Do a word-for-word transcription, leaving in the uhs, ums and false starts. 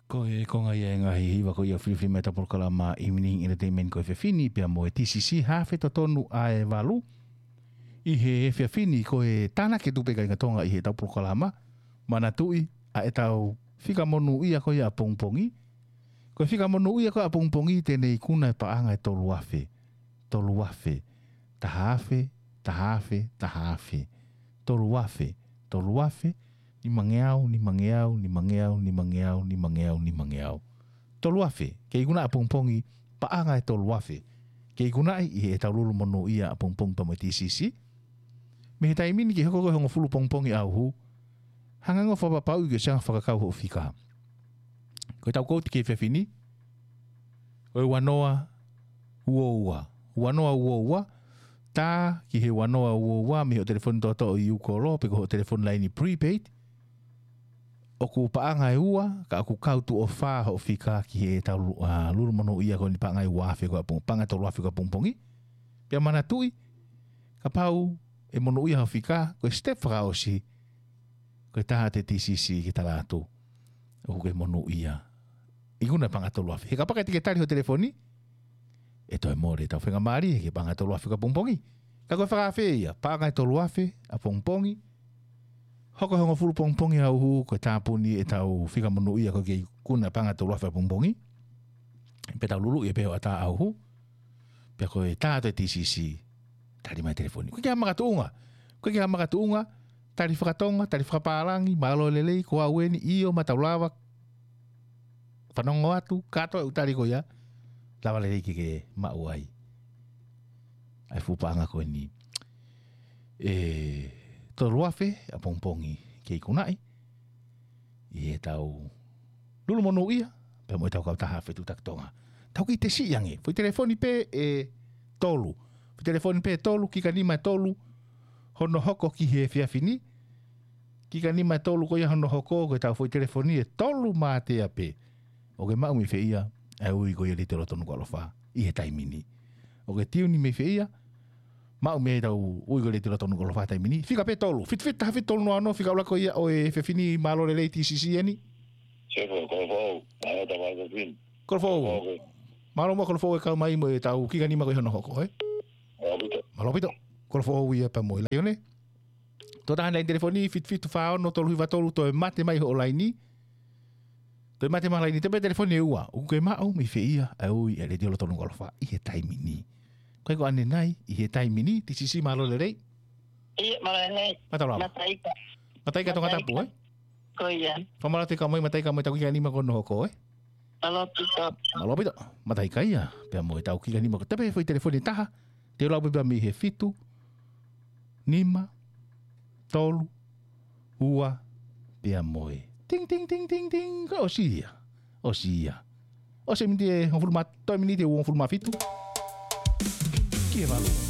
Ko e konga ia e ngaahi hiva ko ia ʻoku filifilimui ʻetau polokalama Evening Entertainment ko e efiafi ni pea mo e T C C, haafe totonu ʻa e valu. ʻI he efiafi ni ko e tānaki atu pē kāinga Tonga ʻi heʻetau polokalama. Manatuʻi ʻa ʻetau fika monūʻia ko ia ʻapongipongi. Ko e fika monūʻia ko ia ʻapongipongi te ne ikuna e paʻanga ʻe tolu afe. Tolu afe. Taha afe, taha afe, taha afe. Tolu afe, tolu afe, nimangeau, nimangeau, nimangeau, nimangeau, nimangeau, nimangeau. Tolu afe, ke ikuna ʻapongipongi, paʻanga ʻe tolu afe. Ke ikunaʻi ʻi heʻetau lulu monūʻia ʻapongipongi pea mo e T C C. Mei he taimi ni ke hoko ko e hongofulu pongipongi ʻauhu, hanga ʻo fakapapauʻi ke ʻosi anga fakakau hoʻo fika. Ko ʻetau kouti ki he efiafi ni, ko e ua noa ua ua. Ua noa ua ua, tā ki he ua noa ua ua, mei hoʻo telefoni toʻotoʻo ʻi ʻū kolo, pe ko hoʻo telefoni laini prepaid. ʻOku paʻanga ʻe ua, ka ʻoku kau tuʻo fā hoʻo fika ki heʻetau lu-, ʻa, lulu monūʻia ko eni paʻanga ʻe ua afe ko ia ʻapongi-, paʻanga ʻe tolu afe ko ia ʻapongipongi. Pea manatuʻi, kapau ʻe monūʻia hoʻo fika, ko e step fakaʻosi, ko e tā atu e T C C ke tala atu ʻoku ke monūʻia. Ikuna paʻanga ʻe tolu afe. He kapau ʻe ʻikai te ke tali hoʻo telefoni, ʻe toe mole ʻetau faingamālie ki he paʻanga ʻe tolu afe ko ia ʻapongipongi. Ka ko e fakaafe ia, paʻanga ʻe tolu afe ʻapongipongi. Hoko e hongofulu pongipongi ʻauhu, ko e tāpuni ʻetau fika monūʻia ko e ke ikuna paʻanga ʻe tolu afe ʻapongipongi. Pea tau luluʻi pē hoʻatā ʻauhu. Pea ko e tā atu e T C C, tali mai telefoni. ʻOku ʻikai ke ʻi ai ha makatuʻunga. ʻOku ʻikai ke ʻi ai ha makatuʻunga, tali fakatonga, tali fakapālangi, mālō e lelei, ko au eni, ʻio, ma tau lava fanongo atu, kātoa e ʻū tali ko ia, lava lelei ke ke maʻu ai ʻa e fuʻu paʻanga ko eni ʻe tolu afe ʻapongipongi ke ikunaʻi ʻi heʻetau lulu monūʻia pea mo ʻetau kautaha Fetuʻutaki Tonga. Tau kiʻi tesi ange, foʻi telefoni pē ʻe tolu. Foʻi telefoni pē ʻe tolu, kika nima ʻe tolu, hono hoko ki he efiafi ni. Kika nima ʻe tolu ko ia hono hoko, ko ʻetau foʻi telefoni ʻe tolu mātea pē. ʻOku ke maʻu mei fē ia ʻa e ui ko ia ʻa e Letiō Lotonu Kalofa ʻi he taimi ni? ʻOku ke tiuni mei fē ia, maʻu mei ai ʻetau ui ko ia ʻa e Letiō Lotonu Kalofa he taimi ni? Fika pē ʻe tolu. Fitu fitu taha fitu tolu noa noa, fika ʻuluaki ia ʻo e efiafi ni, mālō e lelei T C C eni. Sefo, Kolofoʻou. Mālō e tafaʻaki ko eni. Kolofoʻou. Kolofoʻou. Mālō muʻa Kolofoʻou e kau mai mo ʻetau kika nima ko ia hono hoko, ē? Mālō ʻaupito. Mālō ʻaupito. Kolofoʻou ia pea mo e Laione. Tuʻo taha e laine telefoni, fitu fitu fā ono tolu hiva tolu, toe mate mai hoʻo laini. Toe mate mai laini, toe pē telefoni ʻe ua. ʻOku ke maʻu mei fē ia ʻa e ui ʻa e Letiō Lotonu Kalofa ʻi he taimi ni? Ko e ko ʻanenai, ʻi he taimi ni, T C C, mālō e lelei. ʻIo, mālō e lelei. Mālō e lelei. Mataika. Mataika Tongatapu, ē? Ko ia. Fakamālō atu e kau mai Mataika mo ʻetau kika nima ko ia hono hoko, ē? Mālō ʻaupito. Mālō ʻaupito. Mataika ia, pea mo ʻetau kika nima ko ia. Toe pē foʻi telefoni ʻe taha, te u lau pē pea mei he fitu nima tolu ua pea mo e ting, ting, ting, ting, ting. Ka ʻosi ia. ʻOsi ia. ʻOsi e miniti ʻe hongofulu mā, toe miniti ʻe hongofulu mā fitu ki he valu.